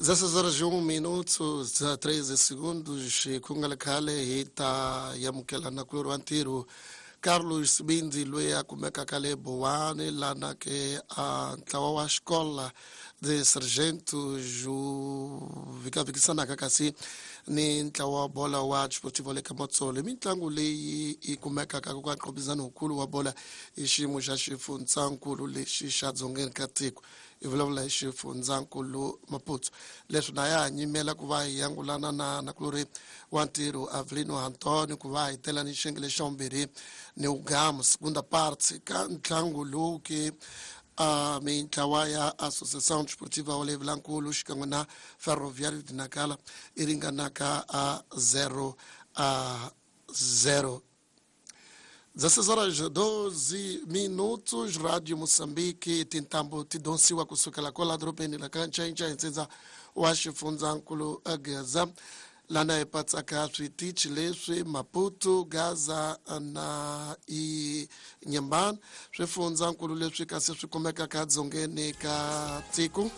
16 horas e 1 minuto 13 segundos ku nga le khale hi ta amukela nakulorhi wa ntirho Carlos Sibindi loyi a kumekaka le Bowani lana ke a ntlawa wa xikola de Sargento wu vhikavikisanaka kasi ni ntlawa wa bola wa Desportivo le ka Matsolo. I mitlangu leyi yi kumekaka ka nqhubizano wukulu wa bola hi xiyimo xa xifundzankulu lexi xa dzongeni ka tiko. Hi vulavula hi xifundzankulu Maputo. Leswi na ya ha nyimela ku va hi angulana na nakulorhi wa ntirho Avelino Antonio ku va hi tela ni xiyenge lexi xa vumbirhi ni wugamu segunda parte ka ntlangu lowu ke mintlawa ya Associação Desportiva wa le Vilankulu xikan'we na Ferroviário de Nacala i ringanaka a 0 a 0. 16 horas 12 minutos, Rádio Moçambique, tintambo ti donsiwa kusukela kwala dorobeni la ka Ncainca ntsindza wa xifundzankulu Gaza lana hi patsaka switichi leswi Maputo, Gaza na Inhambane, swifundzankulu leswi kasi swi kumekaka dzongeni ka tiko.